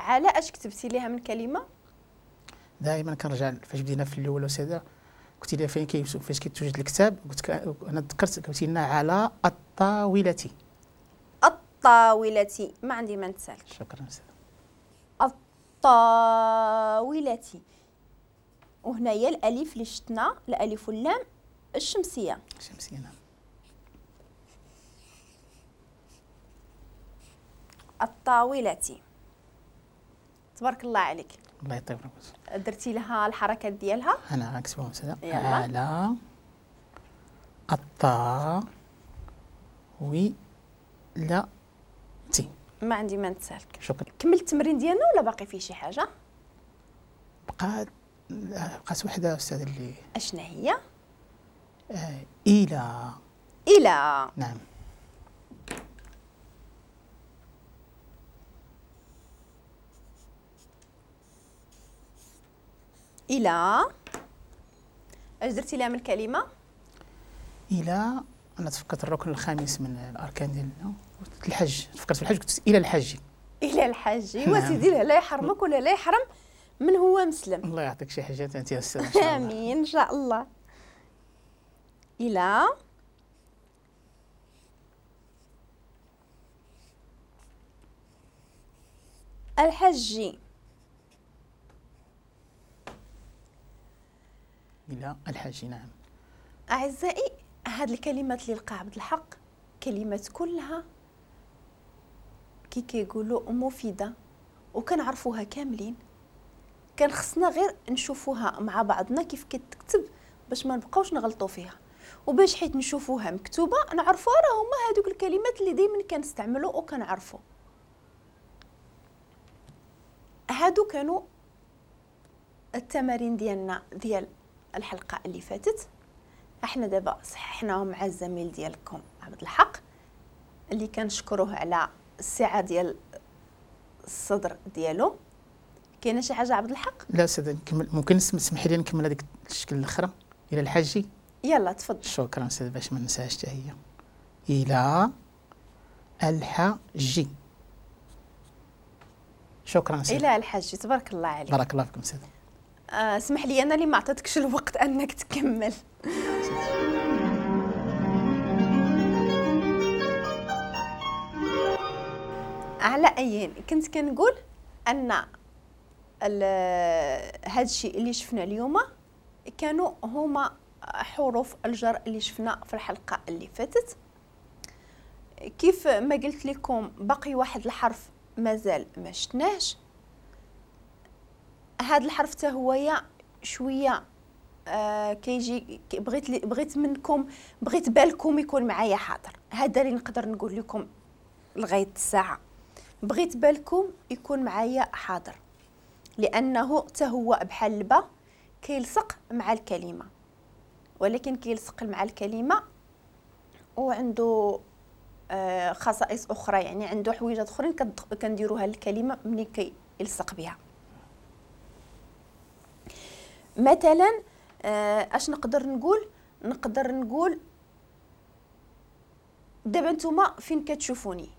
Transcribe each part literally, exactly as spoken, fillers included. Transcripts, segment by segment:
على اش كتبتي ليها من كلمة؟ دائما كنرجع فاش بدينا في الاول استاذه قلتي لي فين كي فاش كيتوجد الكتاب، قلت انا تذكرت قلتي لنا على الطاولة. الطاولة، ما عندي ما نتسالك. شكرا استاذ. الطاولة، وهنايا الالف اللي شتنا، الالف واللام الشمسية. الشمسية نعم. الطاولة. تبارك الله عليك. الله يطيب ربك. درتي لها الحركات ديالها؟ انا غنكتبهم استاذه. على الطا وي لا تي. ما عندي ما نتسالك. شكرا. كمل التمرين ديالنا ولا باقي فيه شي حاجة؟ بقات بقات وحده استاذه اللي اشنا هي؟ آه الى. الى نعم. الى اش درتي لها من كلمة؟ الى انا تفكرت الركن الخامس من الاركان ديالنا الحج، تفكرت في الحج قلت الى الحج. الى الحج. ايوا سيدي لا يحرمك ولا لا يحرم من هو مسلم. الله يعطيك شي حاجة انت يا استاذ. امين ان شاء الله. الى الحج. الى الحج نعم. اعزائي هاد الكلمات اللي لقى عبد الحق كلمات كلها كي كيقولوا مفيدة وكنعرفوها كاملين، كان خصنا غير نشوفوها مع بعضنا كيف كتكتب باش ما نبقاوش نغلطوا فيها، وباش حيت نشوفوها مكتوبة نعرفوها راه هما هادوك الكلمات اللي دائما كنستعملوا وكنعرفوا. هادو كانوا التمارين ديالنا ديال الحلقة اللي فاتت. احنا دابا صححناهم مع الزميل ديالكم عبد الحق اللي كنشكروه على السعة ديال الصدر ديالو. كاينه شي حاجة عبد الحق؟ لا استاذ نكمل، ممكن تسمحي لي نكمل هذيك الشكل الاخرى الى الحج؟ يلا تفضل. شكرا استاذ باش ما ننساهاش حتى هي. الى الحج. شكرا استاذ. الى الحج. تبارك الله عليك. بارك الله فيكم استاذ. اسمح لي انا اللي ما عطيتكش الوقت انك تكمل. على ايين كنت كنقول ان هذا الشيء اللي شفنا اليوم كانوا هما حروف الجر اللي شفنا في الحلقة اللي فاتت. كيف ما قلت لكم باقي واحد الحرف مازال ما شفناهش. هذا الحرف حتى هو شوية آه كيجي، بغيت بغيت منكم بغيت بالكم يكون معايا حاضر. هذا اللي نقدر نقول لكم لغاية الساعة، بغيت بالكم يكون معايا حاضر، لانه حتى هو بحال البا كيلصق مع الكلمة، ولكن كيلصق مع الكلمة وعنده آه خصائص اخرى، يعني عنده حويجات اخرين كنديروها للكلمة ملي كيلصق بها. مثلا اش نقدر نقول؟ نقدر نقول دابا نتوما فين كتشوفوني؟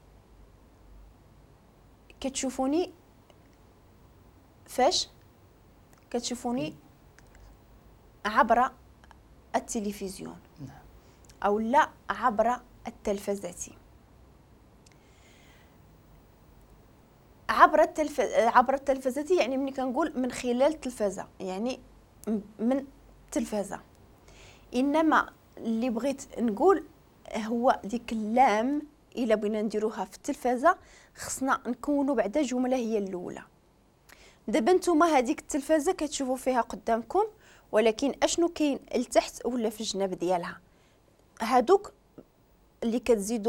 كتشوفوني فاش؟ كتشوفوني عبر التلفزيون او لا عبر التلفزة. عبر التلف... عبر التلفزة يعني ملي كنقول من خلال التلفزة يعني من التلفزة. انما اللي بغيت نقول هو ديك اللام الا بغينا نديروها في التلفزة خصنا نكونوا بعدا جملة هي الاولى. دابا نتوما هذيك التلفزة كتشوفوا فيها قدامكم، ولكن اشنو كاين لتحت ولا في الجناب ديالها؟ هادوك اللي كتزيدوا